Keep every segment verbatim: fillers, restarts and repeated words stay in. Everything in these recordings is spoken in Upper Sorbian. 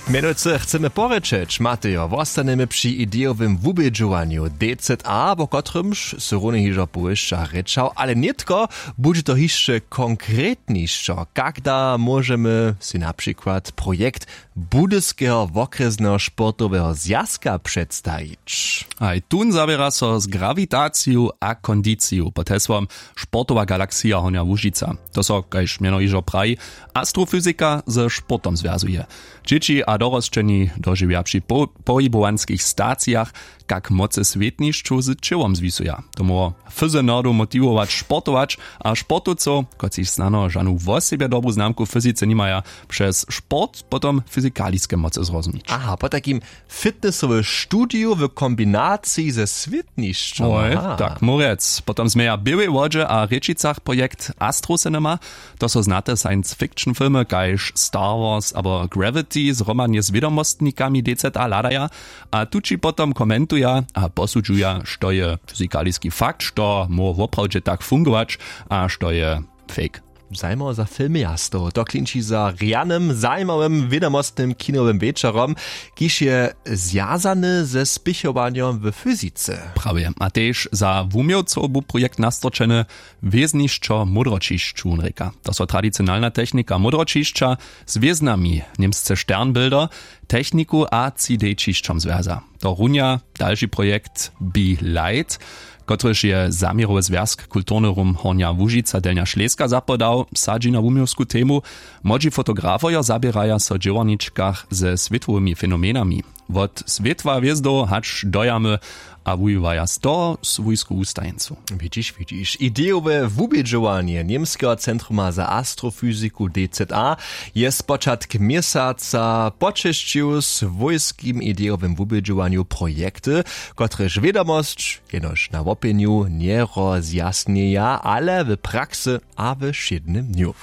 Mjenujcy chcemy porěčeć, Matejo, wostanjemy při idejowym wubědźowanju D Z A, wo kotrymž sy runje hižo powěsća rěčał, ale nětko budźe to hišće konkretnišćo. Kak da móžemy sej na přikład projekt Budyskeho wokrjesneho sportoweho zwjazka předstajić? Haj tón zawěra so z grawitaciju a kondiciju pod hesłom Sportowa galaksija Hornja Łužica. To so, kaž mjeno hižo praji, astrofyzika ze sportom zwjazuje. Dźěći a dorosćeni dožiwja při po- pohibowanskich stacijach, kak mocy swětnišćow z ćěłom zwisuja. To móhło fyzy nerdow motiwować sportować, a sportowcow, kotřiž snano žanu wosebje dobru znamku w fyzice nimaja, přez sport potom fyzikaliske mocy zrozumnić. Aha, potajkim fitnessowe studiju w kombinaciji ze swětnišćom. Oj, aha, tak móhł rjec. Potom změja w běłej wodźe a rěčicach projekt Astro Cinema. To so znate science fiction filmy kaž Star Wars abo Gravity zhromadnje z wědomostnikami D Z A hladaja, a tući potom komentuja a posudźuja, što je fyzikaliski fakt, što móhło woprawdźe tak fungować, a što je fake. Zajimało za filmy jastow, to klinči za rjanym zajimawym wědomostnym kinowym wječorom, kiž je zwjazany ze spěchowanjom w fyzice. Prawje, a tež za wuměłcow bu projekt nastorčeny. Wěznišćo módroćišć wón rěka. To so tradicionalna technika módroćišća z wěznami, němsce Sternbilder, techniku a tři D ćišćom zwjaza. To runja dalši projekt Be Light, kotryž je zaměrowy zwjazk kulturny rum Hornja Łužica Delnja Šleska zapodał, sadźi na wuměłsku temu. Młodźi fotografojo zaběraja so w dźěłarničkach ze swětłowymi fenomenami, wot swětła hwězdow hač do jamy, a wuwiwaja z toho swójsku wustajeńcu. Widźiš, widźiš, idejowe wubědźowanje Němskeho centruma za astrofyziku D Z A je spočatk měsaca počesćił swójskim idejowym wubědźowanju projekty, kotrež wědomosć jenož na łopjenju njerozjasnjeja, ale w praksy a we wšědnym dnju.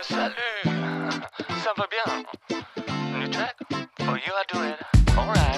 Salut, ça va bien?